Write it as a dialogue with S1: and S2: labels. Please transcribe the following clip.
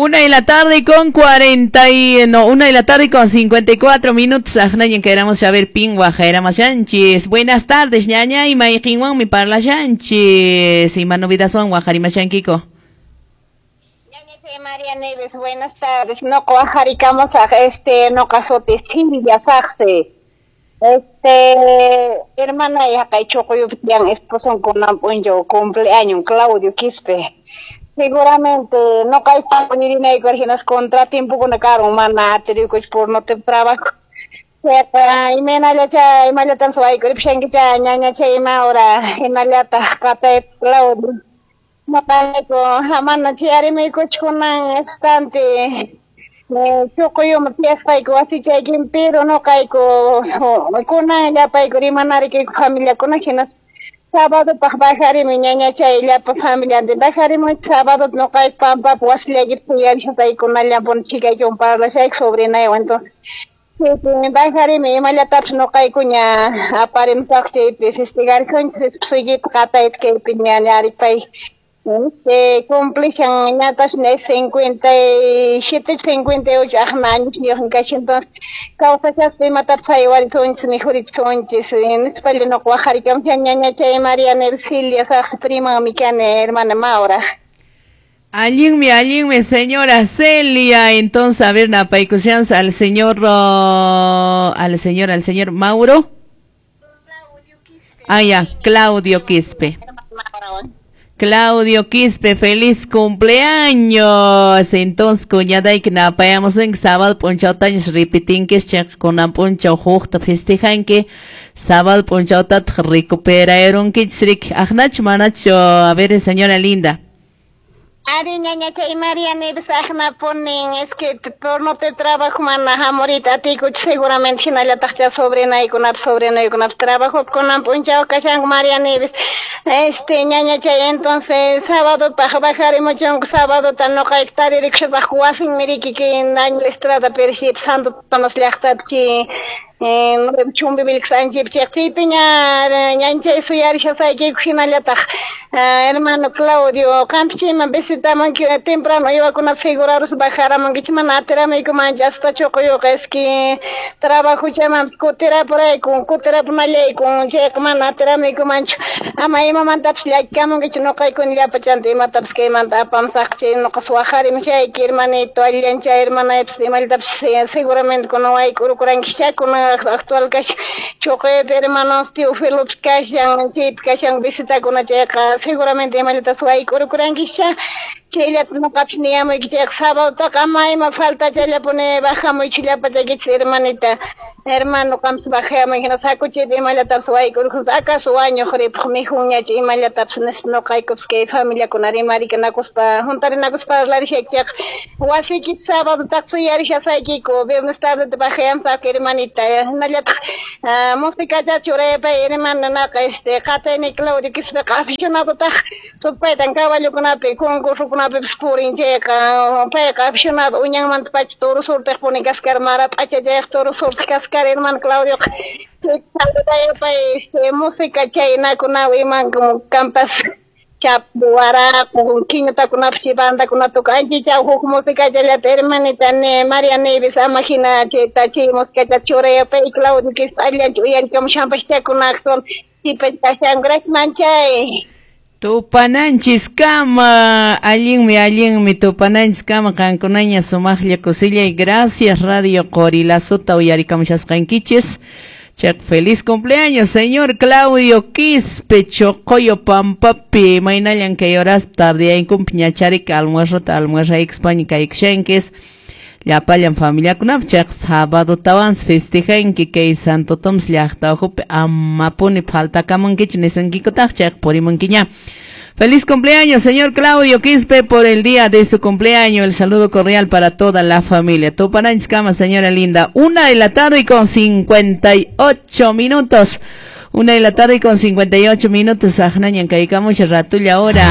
S1: Una de la tarde con 40 y, no, una de la tarde con 54 minutos. Ajnañan queramos saber pingua Sánchez. Buenas tardes, ñaña y mi parla Sánchez. Y manovidazón guajarima Kiko.
S2: María Neves, buenas tardes. No guajaricamos a este no casote Silvia Saxe. Hermana ya kay chokoyuptian esposo con yo cumpleaños Claudio Quispe. Seguramente no kay ni hinas contratiempo con caro mana por no te trabajo. Imenalla imallatan suaykuripshankicha ñañacha ima hora hinallataq qatayp Claudio. Noqayku hamana chay arimaykuchkunan instante chuquyuma tiyasqayku wasichaykin pero noqayku kunan llapayku rimanarikayku familiakuna hinas sábado paq bajarimi ñañachay llapa familiantin bajarimu sábado noqayku pampapi wasillaykita suyarishasaykunallanpuni chikaykiwan parlashayku sobrinaywan. Entonces bajarimi imallatapis noqaykuña aparimusaq chaypi festejarishunchis esposoykita qatayta kaypi ña cumplishan ñatash 57, 58 aqna añosniyuqmi kashan. Entonces kawsashaspa imatapis haywarisunchis mikhurichisunchis nispalla nuqa waqharikamushan ñañachay María Neves Saqsi primanmi kani hermana Maura.
S1: Allinmi, allinmi, señora Celia. Entonces, a ver, napaykushansa al señor, al señor Mauro. Ah, ya, Claudio Quispe. Claudio Quispe, feliz cumpleaños. Entonces, cuñadayki napayamos en sábado p'unchawtañas repitinkis chayqa kunan p'unchaw hukta festejanki sábado p'unchawtataq recuperarunkichis riki aqnachu manachu? A ver, señora linda.
S2: Ari ñañachay María Neves aqnapunin, es que por no te trabajo mana hamurita atiykuchu seguramente hinallataqcha sobrinaykunapas sobrinaykunapas trabajo kunan p'unchaw kashanku María Neves ñañachay. Entonces sábado paq bajarimuchunku sábado noqayku taririkushasaq wasinmi riki kay Daniel Estrada Pership Santo Tomás llaqtapi chay Chumbivilcas anchaypi chayqa chaypiña ñañachay suyarishasaykiku hinallataq hermano Claudio qampi chayman visitamunki temprano uywakunata segurarus bajaramunkichik mana atiramuykumanchu hasta chuquyuqa es que trabajo chaymanpas kutirapurayku kutirapunallayku chayqa mana atiramuykumanchu ama imamantapis llakikamunkichu noqaykuna llapachanta imatapis kaymanta apamusaq chay noqas waqharimushayki hermanito allillanchay hermanaypas imallatapis seguramente kunan wayk'urukurankichá kunan actual kashan chuquypi hermanos Teofilopas kashan chaypi kashan visitakuna chayqa seguramente imallatas wayk'urukurankichá chayllata noqapis niyamuyki chayqa sabadotaqa ama ima faltachallapuni bajamuychik llapachaykichis hermanita hermano qampas bajamuy hinas hakuchaypi imallatapis wayk'urukusun acaso wañuq ripuq mikhunñachu imallatapis nispa noqaykupas kay familiakuna rimarikanakuspa juntarinakuspa parlarishayki chayqa wasiykita sabadotaqa suyarishasaykiku viernes tardeta bajayamusaq hermanita hinallataq musicata churaypay hermana naqa qatayni Claudio Quispeqa aficionadotaq supaytan caballokunapi concursokunapipis purin chayqa payqa aficionado uñanmanta pacha toro surtiqpuni kaskar mara p'achachayaq toro surtiq kaskar hermano Claudioqa pay música chaynakunawan iman kampas chapu waraku kiñutakunapas chay bandakuna tuka anchichaw huk musicachallata hermanita ne María Neves ama hina chayta chay musicachata churayapay Claudio Quispe allincha uyarikamushanpashcha kunan actual kashan. Gracias, manchay.
S1: Tupananchis kama, allinmi, allinmi, tupananchis kama, qankunaña sumaqlla kusillay. Gracias Radio Qorilasota uyarikamushasqankichis. Chaq feliz cumpleaños, señor Claudio Quispe, Chocoyo Pampapi, maynallan kay horas tardeaykumpi ñacharika almuerrota almuerraykuspaña kaykushankish. Llapallan familiakunap chaq sábado tawan festejanki kay Santo Tomás llaqta ukhupi amapuni faltakamunkichu nisunkikutaq chaq purimunkiña. Feliz cumpleaños, señor Claudio Quispe, por el día de su cumpleaños. El saludo cordial para toda la familia. Tupananchis kama, señora linda. Una de la tarde con 58 minutos. Una de la tarde con 58 minutos. Ajnañan kaykamush ratulla ahora.